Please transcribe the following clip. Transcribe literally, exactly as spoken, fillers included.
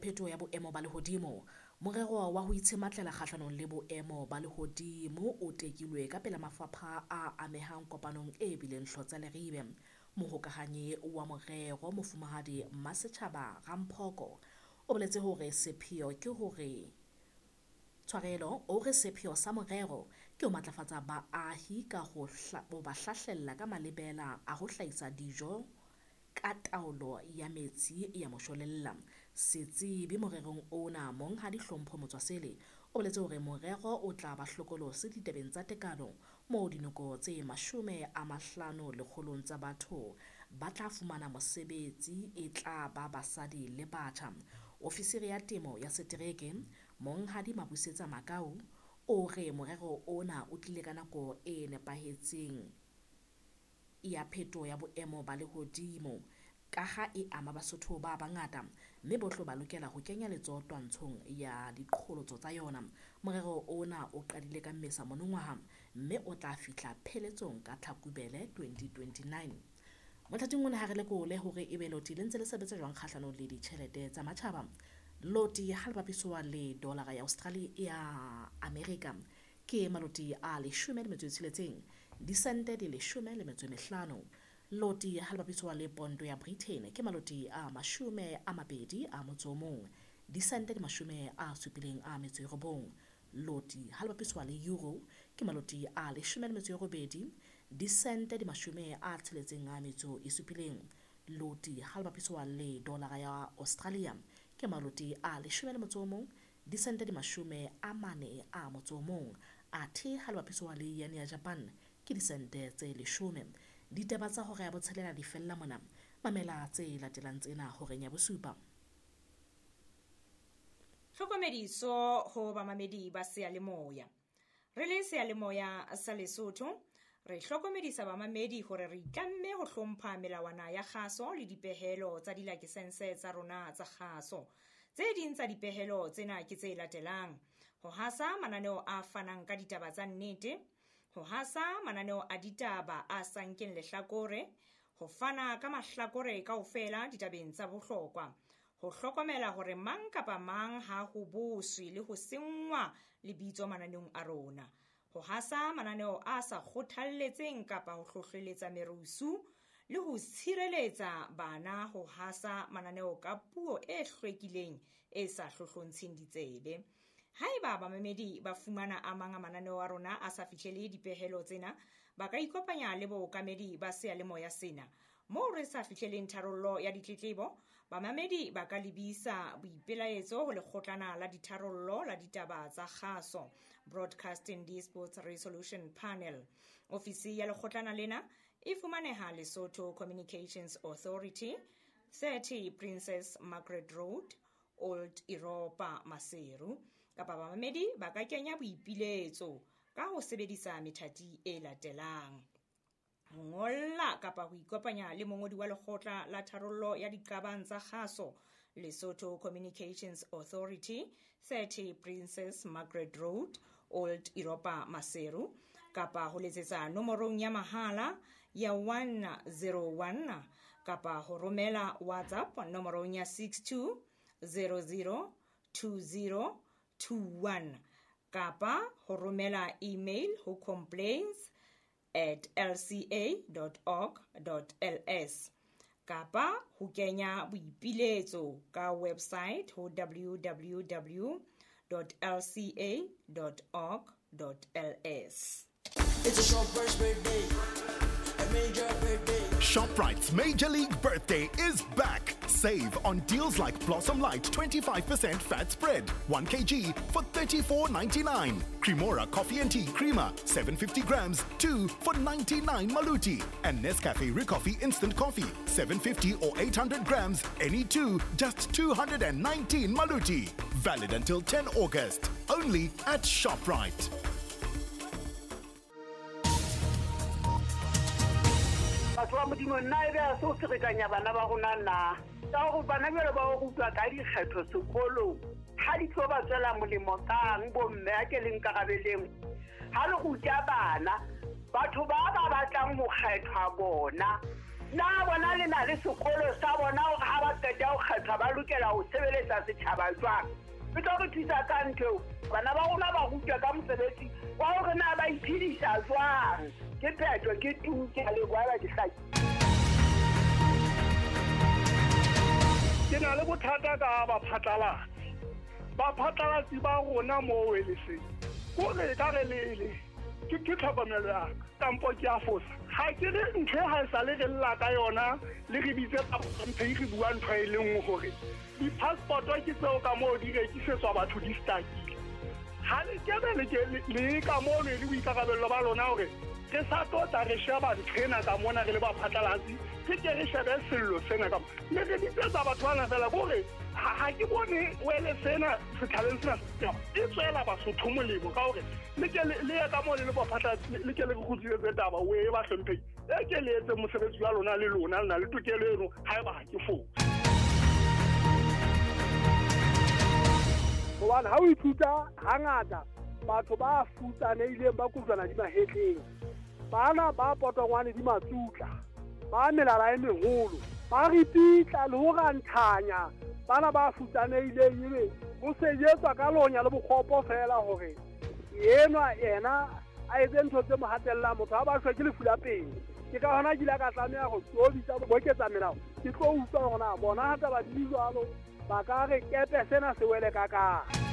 phetoho ya boemo ba lehodimo. Morero wa ho itshematlela kgahlanong le boemo ba lehodimo o tekilwe ka pela mafapha a amehang kopanong e bileng hlotsa leribe. Mohokahanyi wa morero Mofumahadi Mmasetjhaba Ramphoko o boletse hore sepheo ke hore tshwarelo o re sepheo sa morero ke ho matlafatsa baahi ka ho ba hlahlella ka malebela a ho hlahisa dijo ka taolo ya metsi ya moshwelella. Setsebi morerong ona Monghadi Hlompho Motswasele o boletse hore morero o tla ba hlokolosi ditabeng tsa tekano moo dinoko tse mashome a mahlano lekgolong tsa batho ba tla fumana mosebetsi e tla ba basadi le batjha. Ofisiri ya temo ya setereke Monghadi Mabusetsa Makau o re morero ona o tlile ka nako e nepahetseng ya phetoho ya boemo ba lehodimo ka ha e ama Basotho ba bangata mme bohle ba lokela ho kenya letsoho twantshong ya diqholotso tsa yona. Morero ona o qadile ka Mmesa monongwaha mme o tla fihla pheletsong ka Tlhakubele twenty twenty-nine. Mothating ona ha re lekole hore ebe loti le ntse le sebetsa jwang kgahlanong le ditjhelete tsa matjhaba. Loti ha le bapiswa le dolara ya Australia ya America ke maloti a leshome le metso e tsheletseng, disente di leshome le metso e mehlano. Loti ha le bapiswa le pondo ya Britain ke maloti a mashome a mabedi a motso o mong, disente di mashome a supileng a metso e robong. Loti ha le bapiswa le euro ke maloti a leshome le metso e robedi, disente di mashome a tsheletseng a metso e supileng. Loti ha le bapiswa le dolara ya Australia ke maloti a leshome le motso o mong, disente di mashome a mane a motso o mong. Athe ha le bapiswa le yen ya Japan ke disente tse leshome. Ditaba tsa hora ya botshelela di fella mona. Mamela tse latelang tsena horeng ya bosupa. Tlhokomediso ho bamamedi ba seyalemoya. Re le seyalemoya sa Lesotho, re hlokomedisa bamamedi hore re itlamme ho hlompha melawana ya kgaso le dipehelo tsa dilakesense tsa rona tsa kgaso. Tse ding tsa dipehelo tsena ke tse latelang: ho hasa mananeo a fanang ka ditaba tsa nnete, ho hasa mananeo a ditaba a sa nkeng lehlakore, ho fana ka mahlakore kaofela ditabeng tsa bohlokwa, ho hlokomela hore mang kapa mang ha ho boswe le ho senngwa lebitso mananeong a rona, ho hasa mananeo a sa kgothalletseng kapa ho hlohleletsa merusu, le ho tshireletsa bana ho hasa mananeo ka puo e hlwekileng e sa hlohlontsheng ditsebe. Haeba bamamedi ba fumana a mang a mananeo a rona a sa fihlele dipehelo tsena, ba ka ikopanya le bookamedi ba seyalemoya sena. Moo re sa fihleleng tharollo ya ditletlebo, bamamedi ba ka lebisa boipelaetso ho lekgotlana la ditharollo la ditaba tsa kgaso, Broadcasting Disputes Resolution Panel. Ofisi ya lekgotlana lena e fumaneha Lesotho Communications Authority, thirty Princess Margaret Road, Old Europa, Maseru. Kapa bamamedi ba ka kenya boipiletso ka ho sebedisa methati e latelang: ho ngolla kapa ho ikopanya le mongodi wa lekgotla la tharollo ya diqabang tsa kgaso, Lesotho Communications Authority, thirty Princess Margaret Road, Old Europa, Maseru, kapa ho letsetsa nomorong ya mahala ya one zero one, kapa ho romela WhatsApp nomorong ya six two zero zero two zero two one, kapa ho romela email ho complaints at l c a dot org dot l s, kapa ho kenya boipiletso ka website ho w w w dot l c a dot org dot l s. It's a Shoprite's birthday, a major birthday. Shoprite's Major League Birthday is back. Save on deals like Blossom Light twenty-five percent fat spread, one kilogram for thirty-four ninety-nine. Cremora Coffee and Tea Creamer, seven hundred fifty grams, two for ninety-nine Maluti. And Nescafe Recoffee Instant Coffee, seven fifty or eight hundred grams, any two, just two hundred nineteen Maluti. Valid until tenth August. Only at Shoprite. Batho ba Modimo nna ebe a se o ferekanya bana ba rona na ka hore bana jwale ba o rutwa ka dikgetho sekolong ha di tlo ba tswela molemo kang bomme a ke le nkarabeleng ha le ruta bana batho ba ba batlang ho kgethwa bona Na bona le na le sekolo sa bona hore ha ba qeta ho kgethwa ba lokela ho sebeletsa setjhaba jwang? E tlo re thusa ka ntho eo. Bana ba rona ba rutwa ka mosebetsi wa hore na ba iphedisa jwang. Ke phetho, ke tu, ke a leboha ba ke hlaki. Ke na le bothata ka baphatlalatsi. Baphatlalatsi ba rona moo eleseng. Kore ka re lele ke ke tlhokomelo ya ka kampo ke a fosa. Ha ke re ntho e ha e sale re lla ka yona le re bitse mphe re bua ntho e le nngwe hore di-passport ke tseo ka moo di rekisetswa batho di stakile. Ha le kebe le ke le ka moo le boikarabello ba lona hore re sa tlo tla re sheba ntho ena ka mona re le baphatlalatsi, re ke re shebe sello sena ka le re bitsetsa batho bana fela kore ha ke bone wele sena setjhabeng sena e tswela Basotho molemo ka hore le ke le ye ka moo le le baphatlalatsi le ke le re kgutlisetse taba o e ba hlomphehile e ke le etse mosebetsi wa lona le lona le na le tokelo eno haeba ha ke fose. Hobane ha o ithuta hangata batho ba futsanehileng ba kojwana di mahetleng, bana ba potongwane di matsutla, ba melala e meholo, ba ripitla le ho ranthanya bana ba futsanehileng, ebe ho sejetswa ka lonya le bokgopo fela hore enwa yena a etse ntho tse mo hatellang motho ha ba shwe ke lefu la pele. Ke ka hona ke ile ka tlameha ho tlo bitsa boketsa melao, ke tlo utlwa hore na bona ha taba di jwalo ba ka re kepe sena se wele ka kae.